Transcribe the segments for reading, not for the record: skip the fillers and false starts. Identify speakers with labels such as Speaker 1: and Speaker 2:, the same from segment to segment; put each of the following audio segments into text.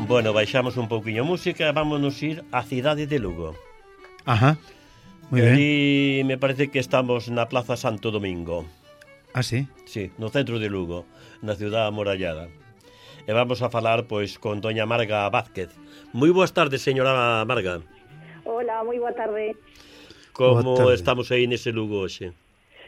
Speaker 1: Bueno, baixamos un pouquiño a música e vámonos ir á cidade de Lugo.
Speaker 2: Ajá, moi ben.
Speaker 1: Ali me parece que estamos na Plaza Santo Domingo.
Speaker 2: Ah, sí?
Speaker 1: Sí, no centro de Lugo, na ciudad amurallada. E vamos a falar, pois, con doña Marga Vázquez. Moi boas tardes, señora Marga.
Speaker 3: Hola, moi boa tarde.
Speaker 1: Como estamos aí nese Lugo hoxe?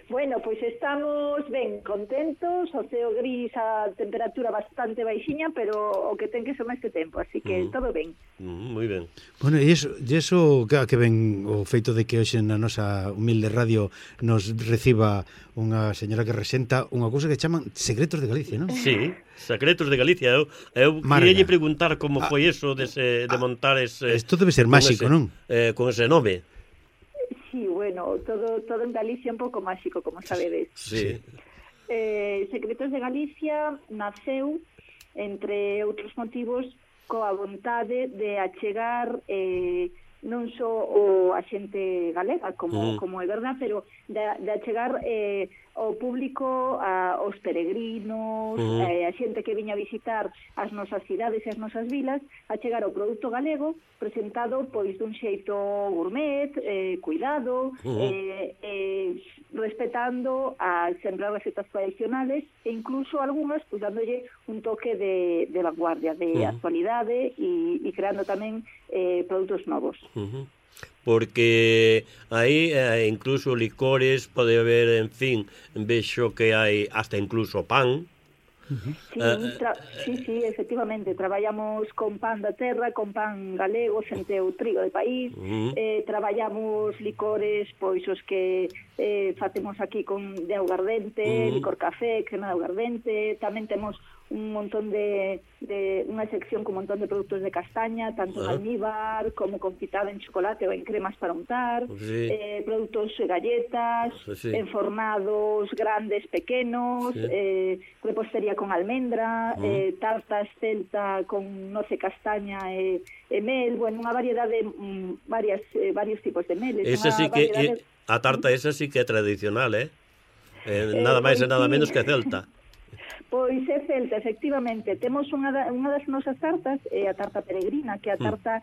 Speaker 3: Bueno, pois estamos ben contentos, o ceo gris, a temperatura bastante baixiña, pero o que ten que ser máis que tempo, así que todo ben.
Speaker 1: Moi ben.
Speaker 2: Bueno, e iso que ven o feito de que hoxe na nosa humilde radio nos reciba unha señora que resenta unha cousa que chaman Secretos de Galicia, non?
Speaker 1: Sí, Secretos de Galicia. Eu queria preguntar como foi eso de montar ese...
Speaker 2: Isto debe ser máxico, non?
Speaker 1: Con ese nome.
Speaker 3: Sí, bueno, todo en Galicia un pouco máxico, como sabedes.
Speaker 1: Sí.
Speaker 3: Secretos de Galicia naceu, entre outros motivos, coa vontade de achegar non só a xente galega, como é verdad, pero de achegar ao público, aos peregrinos, a xente que viña a visitar as nosas cidades e as nosas vilas, a chegar ao produto galego presentado pois dun xeito gourmet, cuidado, respetando sempre as recetas tradicionales e incluso algunhas pues, dándolle un toque de vanguardia, de actualidade e creando tamén produtos novos.
Speaker 1: Porque aí incluso licores, pode haber, en fin, vexo que hai hasta incluso pan.
Speaker 3: Sí, efectivamente, traballamos con pan da terra, con pan galego, sen teu trigo de país, traballamos licores, pois os que facemos aquí de augardente, licor café, crema de augardente, tamén temos un montón de unha sección con un montón de produtos de castaña, tanto en almíbar como confitada en chocolate ou en cremas para untar, produtos galletas, enfornados grandes, pequenos, repostería con almendra, tartas celta con noce castaña e mel, bueno, unha variedade, varios tipos de meles.
Speaker 1: Esa sí que, a tarta esa sí que é tradicional, nada máis e nada menos que celta.
Speaker 3: Pois é celta, efectivamente. Temos unha das nosas tartas, a tarta peregrina, que é a tarta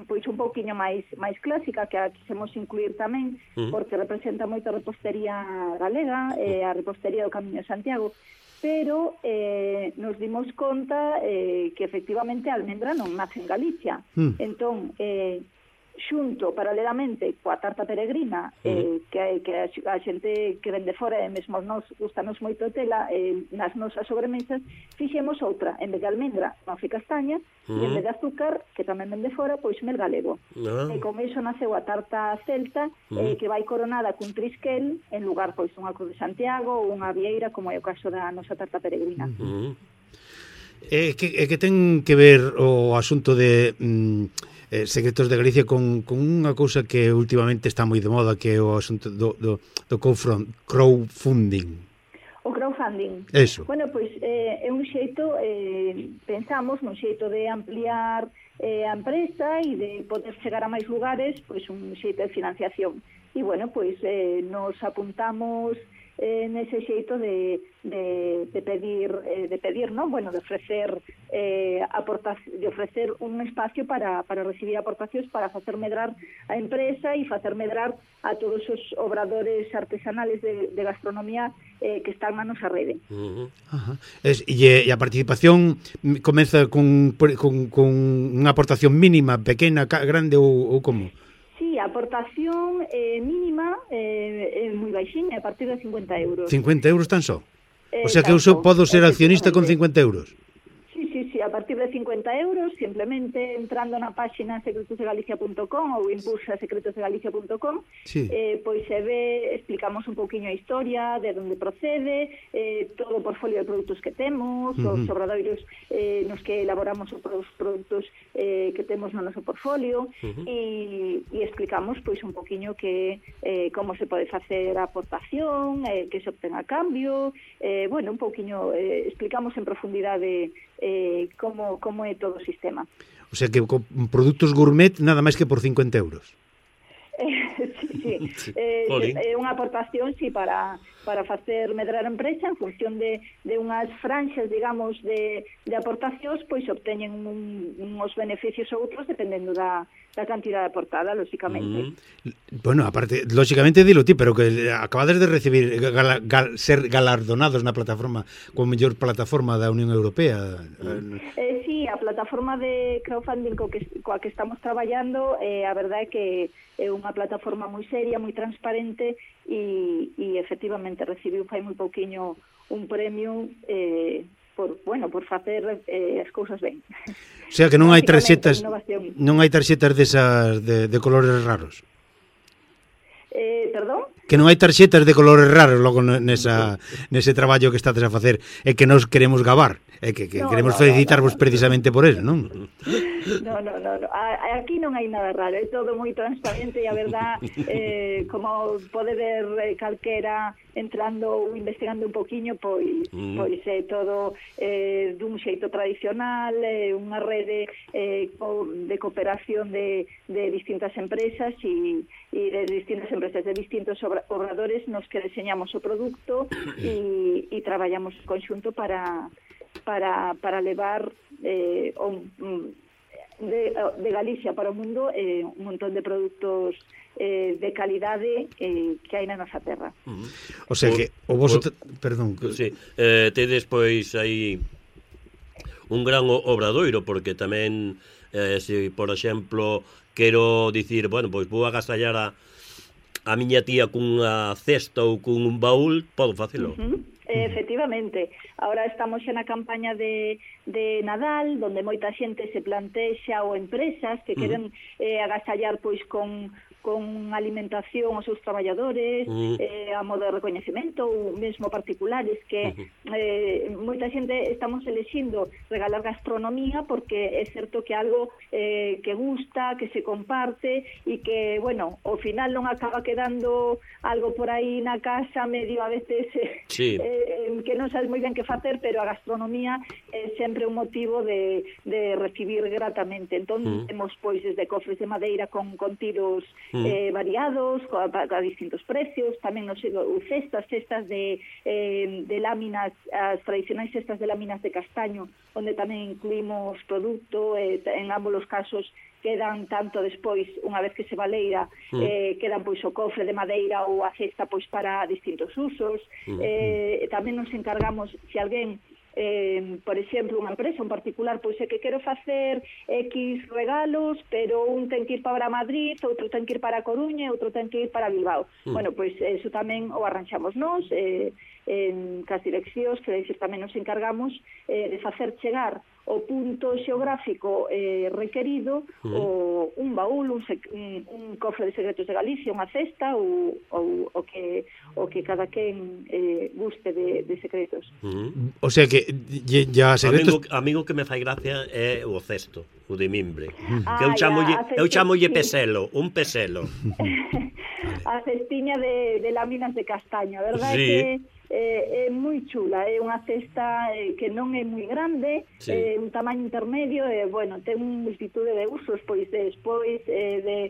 Speaker 3: pois un pouquiño máis clásica, que a quixemos incluir tamén, porque representa moito a repostería galega, a repostería do Camiño de Santiago, pero nos dimos conta que efectivamente a almendra non nace en Galicia. Entón, xunto, paralelamente, coa tarta peregrina, que a xente que vende fora, e mesmo nos gustanos moito tela, nas nosas sobremesas, fixemos outra, en vez de almendra, noce castaña, e en vez de azúcar, que tamén vende fora, pois mel galego. E con iso naceu a tarta celta, que vai coronada cun trisquel, en lugar, pois, dunha cruz de Santiago ou unha vieira, como é o caso da nosa tarta peregrina.
Speaker 2: Que ten que ver o asunto de... Secretos de Galicia con unha cousa que últimamente está moi de moda, que é o asunto do crowdfunding.
Speaker 3: O crowdfunding.
Speaker 2: Eso.
Speaker 3: Bueno, pois é un xeito, pensamos, un xeito de ampliar a empresa e de poder chegar a máis lugares, pois un xeito de financiación. E, bueno, pois nos apuntamos nese xeito de pedir, non? Bueno, de ofrecer de ofrecer un espacio para recibir aportacións, para facer medrar a empresa e facer medrar a todos os obradores artesanales de gastronomía que están na nosa rede.
Speaker 2: E a participación comeza con unha aportación mínima, pequena, grande ou como?
Speaker 3: Sí, a aportación mínima é moi baixiña, a partir de 50 euros.
Speaker 2: 50 euros tan só? O sea que eu podo ser accionista con 50 euros?
Speaker 3: Sí, a partir de 50 euros, simplemente entrando na páxina secretosdegalicia.com ou impulsa secretosdegalicia.com, pois se ve, explicamos un pouquiño a historia, de onde procede, todo o portfolio de produtos que temos, os obradoiros nos que elaboramos os produtos que temos no noso portfolio, e explicamos pois un pouquiño que como se pode facer a aportación, que se obtén a cambio, bueno, un pouquiño explicamos en profundidade como é todo o sistema.
Speaker 2: O sea que con produtos gourmet nada máis que por 50 euros.
Speaker 3: Sí. É unha aportación, sí, para facer medrar a empresa en función de unhas franxas, digamos, de aportacións, pois obteñen uns beneficios ou outros dependendo da cantidade aportada, lóxicamente.
Speaker 2: Bueno, aparte, lóxicamente dilo ti, pero que acabades de recibir ser galardonados na plataforma como mellor plataforma da Unión Europea.
Speaker 3: Sí, a plataforma de crowdfunding coa que estamos traballando, a verdade é que é unha plataforma moi seria, moi transparente e efectivamente recibiu fai moi pouquiño un premio por facer as cousas ben.
Speaker 2: O sea que non hai tarxetas desas de colores raros.
Speaker 3: Perdón?
Speaker 2: Que non hai tarxetas de colores raros logo nese traballo que estades a facer e que nos queremos gabar e que queremos felicitarvos precisamente por eso, non?
Speaker 3: No. Aquí non hai nada raro, é todo moi transparente e a verdad, como pode ver calquera entrando ou investigando un poquinho, pois é todo dun xeito tradicional, unha rede de cooperación de distintas empresas e de distintas empresas, de distintos obradores nos que deseñamos o produto e traballamos en conxunto para levar de Galicia para o mundo un montón de produtos de calidade que hai na nosa terra.
Speaker 2: O sea que o vosso perdón,
Speaker 1: sí, tedes pois aí un gran obradoiro, porque tamén se, por exemplo, quero dicir, bueno, pois vou agasallar a miña tía cunha cesta ou cun un baúl, podo facelo.
Speaker 3: Efectivamente, ahora estamos xa na campaña de Nadal, donde moita xente se plantexa ou empresas que queren agasallar pois con alimentación aos seus traballadores, a modo de recoñecemento ou mesmo particulares, que moita xente estamos elexindo regalar gastronomía porque é certo que algo que gusta, que se comparte e que, bueno, ao final non acaba quedando algo por aí na casa medio a veces que non sabes moi ben que facer, pero a gastronomía é sempre un motivo de recibir gratamente. Entón, temos pois desde cofres de madeira con tiros variados, a distintos precios, tamén nos cestas de láminas, as tradicionais cestas de láminas de castaño, onde tamén incluímos produto, en ambos os casos quedan tanto despois, unha vez que se baleira, quedan pois o cofre de madeira ou a cesta pois para distintos usos. Tamén nos encargamos, se alguén por exemplo, unha empresa, un particular, pois é que quero facer X regalos, pero un ten que ir para Madrid, outro ten que ir para Coruña e outro ten que ir para Bilbao. Bueno, pois eso tamén o arranxamos nós, en cas direccións, que tamén nos encargamos de facer chegar o punto xeográfico requerido, un baúl, un cofre de secretos de Galicia, unha cesta ou o que cada quen guste de secretos.
Speaker 2: O sea que ya secretos...
Speaker 1: Amigo que me fai gracia é o cesto, o de mimbre. Que eu chamolle peselo, un peselo.
Speaker 3: A cestiña de láminas de castaño, a verdade é que é moi chula, é unha cesta que non é moi grande, un tamaño intermedio, bueno, ten un multitude de usos, pois despois de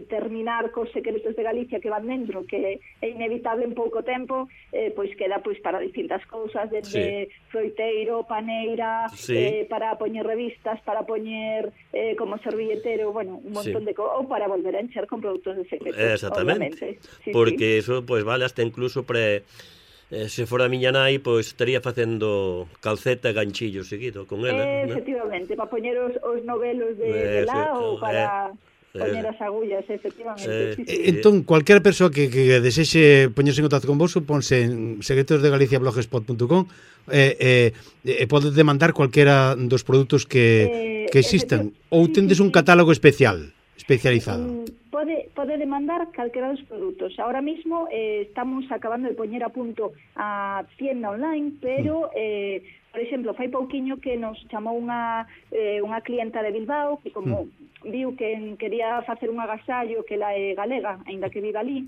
Speaker 3: terminar cos secretos de Galicia que van dentro, que é inevitable en pouco tempo, pois queda pois para distintas cousas, desde froiteiro, paneira, para poñer revistas, para poñer como servilletero, bueno, un montón de cousas, ou para volver a encher con produtos de secretos.
Speaker 1: Exactamente, porque eso pois vale hasta incluso se fora a miña nai, pois estaría facendo calceta e ganchillo seguido con ela.
Speaker 3: Efectivamente, para poñer os novelos de lá ou para poñer as agullas, efectivamente.
Speaker 2: Entón, cualquier persoa que desexe poñerse en contacto con vos, ponse en secretosdegaliciablogspot.com e pode demandar cualquiera dos produtos que existan, ou tendes un catálogo especializado.
Speaker 3: Pode demandar calquera dos produtos. Ahora mismo estamos acabando de poñer a punto a tienda online, pero, por exemplo, fai pouquiño que nos chamou unha clienta de Bilbao, que como viu que quería facer un agasallo, que ela é galega, aínda que vive ali,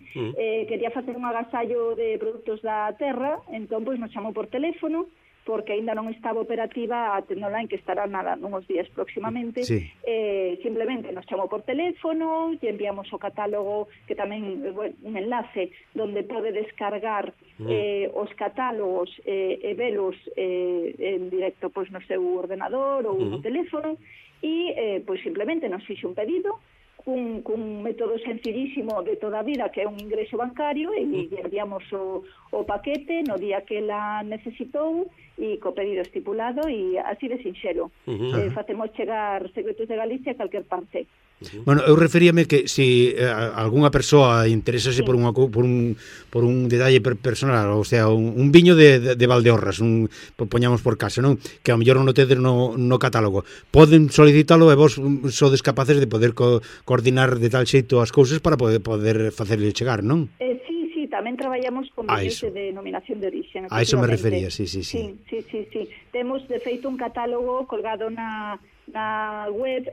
Speaker 3: quería facer un agasallo de produtos da terra, entón, pois, nos chamou por teléfono, porque aínda non estaba operativa a tenda online, que estará nada nuns días próximamente.
Speaker 2: Sí.
Speaker 3: Simplemente nos chamou por teléfono, lle enviamos o catálogo, que tamén, un enlace donde pode descargar os catálogos e velos en directo pois no seu ordenador ou no teléfono, e pois simplemente nos fixe un pedido cun método sencillísimo de toda a vida, que é un ingreso bancario, e lle enviamos o paquete no día que la necesitou e co pedido estipulado, e así de sinxelo. Facemos chegar Secretos de Galicia a calquer parte.
Speaker 2: Bueno, eu referíame que se algunha persoa interesase por un detalle personal, ou sea, un viño de Valdeorras, poñamos por caso, non? Que ao mellor non o tedes no catálogo. Poden solicitalo e vos sodes capaces de poder coordinar de tal xeito as cousas para poder facerle chegar, non?
Speaker 3: Sí, tamén traballamos con viños de denominación de origen.
Speaker 2: A iso me refería, sí.
Speaker 3: Temos, de feito, un catálogo colgado na web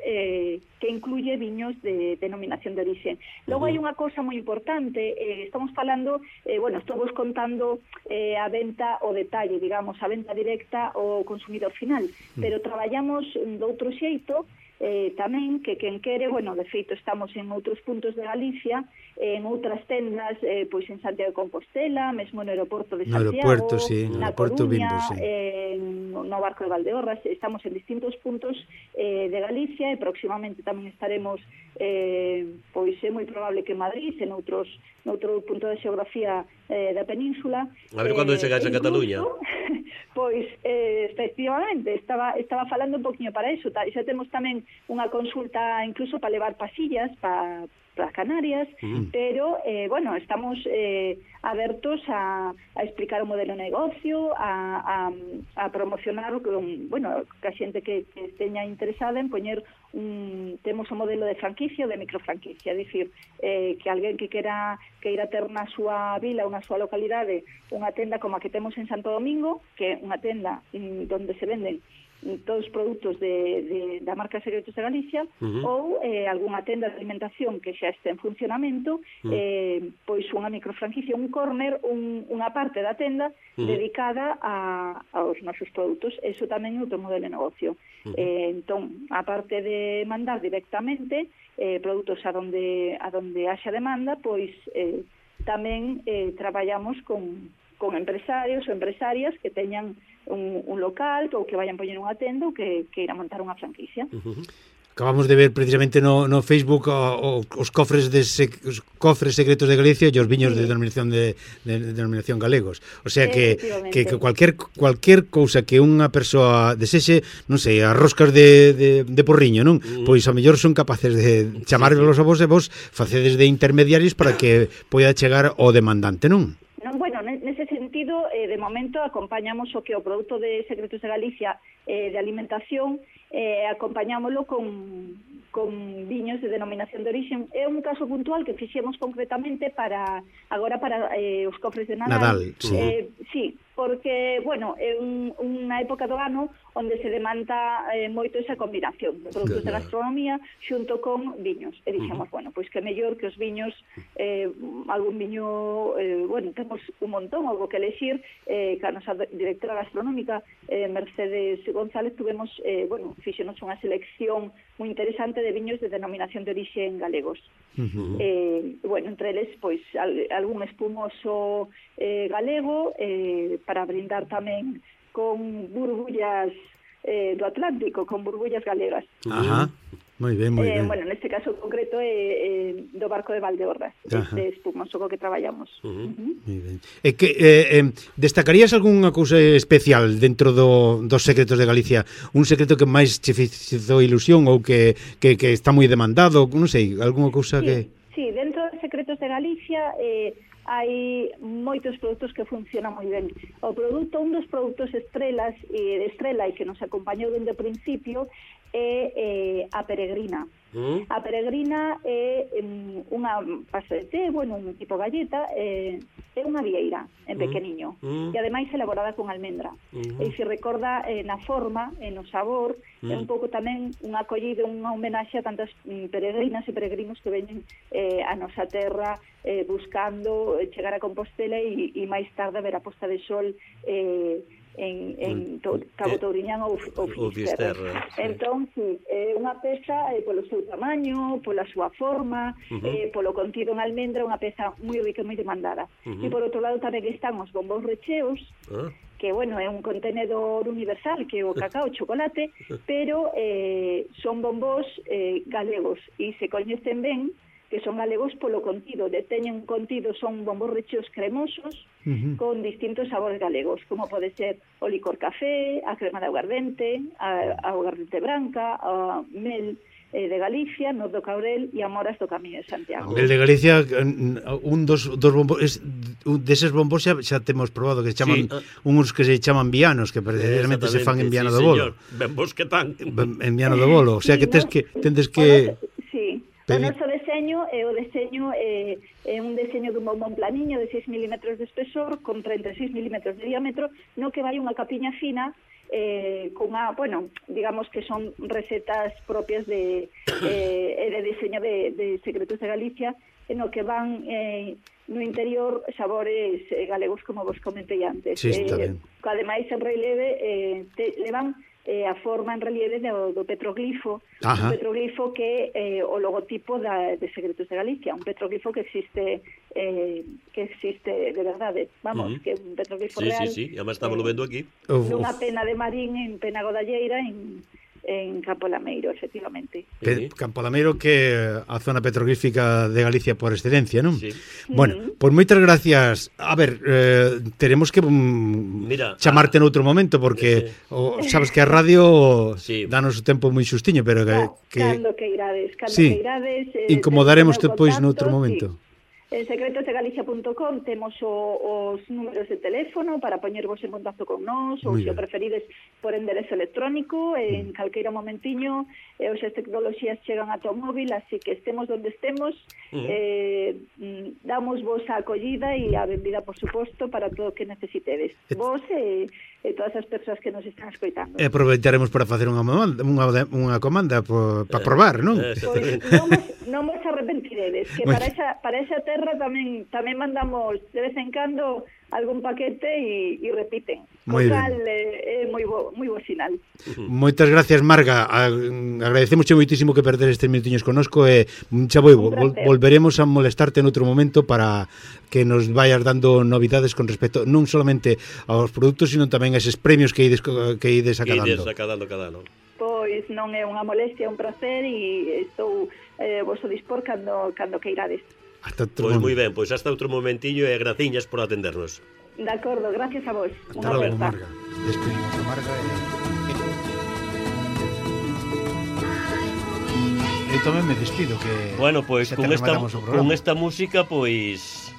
Speaker 3: que incluye viños de denominación de origen. Logo hai unha cousa moi importante, estamos falando, estou vos contando a venta o detalle, digamos, a venta directa ao consumidor final, pero traballamos de outro xeito, tamén, que quen quere, de feito estamos en outros puntos de Galicia, en outras tendas, pois en Santiago de Compostela, mesmo no aeroporto de Santiago, na Coruña, no barco de Valdeorras, estamos en distintos puntos de Galicia, e próximamente tamén estaremos, pois é moi probable que en Madrid, en outro punto de xeografía da península.
Speaker 1: A ver cando chegáis a Cataluña.
Speaker 3: Pois, efectivamente, estaba falando un poquinho para eso. Xa temos tamén unha consulta incluso para levar pasillas para Canarias, pero, estamos abertos a explicar o modelo de negocio, a promocionar que a xente que esteña interesada en poñer temos o modelo de franquicia ou de microfranquicia, é dicir, que alguén que queira ter na súa vila ou na súa localidade unha tenda como a que temos en Santo Domingo, que é unha tenda onde se venden todos os produtos da marca Secretos de Galicia, ou algunha tenda de alimentación que xa este en funcionamento, pois unha microfranquicia, un corner, unha parte da tenda dedicada aos nosos produtos. Eso tamén é outro modelo de negocio. Entón, a parte de mandar directamente produtos a donde haxa demanda, pois tamén traballamos con empresarios ou empresarias que teñan un local ou que vayan poñer unha tenda ou que irá montar unha franquicia.
Speaker 2: Acabamos de ver precisamente no Facebook os cofres secretos de Galicia e os viños de denominación galegos. O sea que cualquier cousa que unha persoa desexe, non sei, as roscas de porriño, non? Pois a mellor son capaces de chamárvelos a vos e vos facedes de intermediarios para que poida chegar ao demandante, non?
Speaker 3: Nese sentido, de momento acompañamos o que o produto de Secretos de Galicia de alimentación, acompañámoslo con viños de denominación de origen. É un caso puntual que fixemos concretamente para os cofres de Nadal. Sí, porque, é unha época do ano onde se demanda moito esa combinación de produtos de gastronomía xunto con viños. E dixemos, pois que mellor que os viños, algún viño, temos un montón, algo que elexir, que a nosa directora gastronómica, Mercedes González, tuvemos, fixenos unha selección moi interesante de viños de denominación de origen galegos. Entre eles, pois, algún espumoso galego, para brindar tamén con burbullas do Atlántico, con burbullas galegas.
Speaker 2: Moi ben.
Speaker 3: Neste caso concreto é do barco de Valdeorras, este espumoso co que traballamos.
Speaker 2: Moi ben. E que destacarías algunha cousa especial dentro dos secretos de Galicia? Un secreto que máis che fixo ilusión ou que está moi demandado, non sei, algunha cousa que...
Speaker 3: Sí, dentro dos secretos de Galicia hai moitos produtos que funcionan moi ben. Un dos produtos estrela e que nos acompañou dende o principio é a Peregrina. A Peregrina é unha pasta de té, un tipo galleta, é unha vieira en pequeniño, e ademais elaborada con almendra. E se recorda na forma, no sabor, é un pouco tamén unha acollida, unha homenaxe a tantas peregrinas e peregrinos que veñen a nosa terra buscando chegar a Compostela e máis tarde ver a posta de sol Cabo Touriñán ou Fisterra. Entón, sí, unha peza polo seu tamaño, pola súa forma, polo contido en almendra, unha peza moi rica e moi demandada. E por outro lado tamén están os bombóns recheos, que, bueno, é un contenedor universal, que é o cacao, o chocolate, pero son bombóns galegos, e se coñecen ben que son galegos polo contido, teñen contido, son bombóns recheos cremosos con distintos sabores galegos, como pode ser o licor café, a crema de aguardente, a aguardente branca, a mel de Galicia, noz do Caurel e amoras do Camiño de Santiago.
Speaker 2: El de Galicia, un dos bombos, deses bombos xa temos probado, que se chaman, uns que se chaman vianos, que precisamente se fan en Viana do Bolo.
Speaker 1: Bombos que tan.
Speaker 2: En Viana do Bolo, o sea que tendes que...
Speaker 3: Sí. O noso deseño é un deseño dun bombón planiño de 6 milímetros de espesor con 36 milímetros de diámetro, no que vai unha capiña fina bueno, digamos que son recetas propias de diseño de Secretos de Galicia, no que van no interior sabores galegos, como vos comentei antes.
Speaker 2: Sí, está ben.
Speaker 3: Ademais, en relieve levan a forma en relieve do petroglifo, un petroglifo que é o logotipo de Secretos de Galicia, un petroglifo que existe de verdade, vamos, que é un petroglifo real.
Speaker 1: Sí, además estamos vendo aquí.
Speaker 3: Nunha pena de Marín en Pena Godalleira, en Campo Lameiro, efectivamente.
Speaker 2: Campo Lameiro, que é a zona petroglífica de Galicia por excelencia, non?
Speaker 1: Sí.
Speaker 2: Bueno, pois moitas gracias. A ver, teremos que chamarte noutro momento, porque sabes que a radio danos o tempo moi xustiño, pero
Speaker 3: cando que irades,
Speaker 2: incomodaremos depois noutro momento.
Speaker 3: En secretosdegalicia.com temos os números de teléfono para poñervos en contacto con nós, ou se o preferides por enderezo electrónico, en calqueira momentiño, as tecnoloxías chegan a o móvil, así que estemos donde estemos, damos vos a acollida e a benvida, por suposto, para todo o que necesitedes. Vos e todas as persoas que nos están escoitando.
Speaker 2: E aproveitaremos para facer unha comanda para probar, non?
Speaker 3: Pois non vos arrepentiredes, que para esa terra tamén mandamos de vez en cando algún paquete e repiten.
Speaker 2: Moi
Speaker 3: cal é moi bo sinal.
Speaker 2: Moitas gracias, Marga. Agradecemos moitísimo que perder estes minutiños connosco e volveremos a molestarte en outro momento para que nos vayas dando novidades con respecto non solamente aos produtos, sino tamén a eses premios que ides acadando.
Speaker 3: Pois non é unha molestia, é un placer e estou vosso dispor cando queirades.
Speaker 1: Pois moi ben, pois hasta outro momentillo e graciñas por atendernos.
Speaker 3: De acordo, gracias a vos.
Speaker 2: Hasta logo, Marga. Despedimos a Marga e tamén me despido que...
Speaker 1: Bueno, pois con esta música, pois...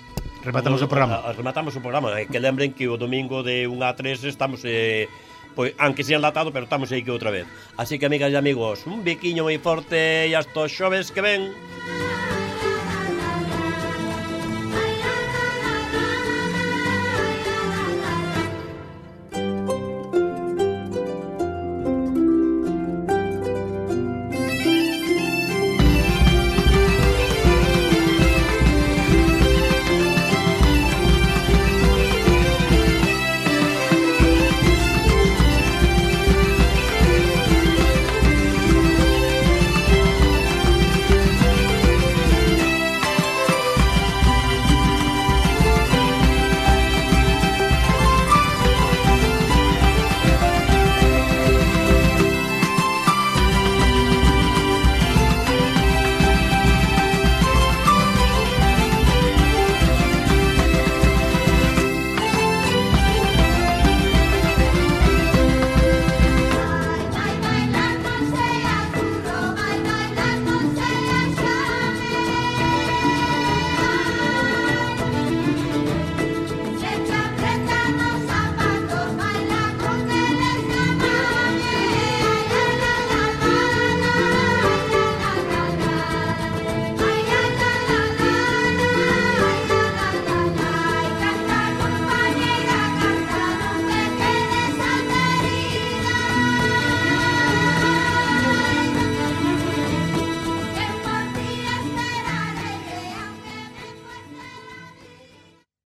Speaker 2: Rematamos o programa.
Speaker 1: Rematamos o programa. Que lembren que o domingo de 1 a 3 estamos... pois, aunque sea enlatado, pero estamos aí que outra vez. Así que, amigas e amigos, un biquiño moi forte e hasta os xoves que ven.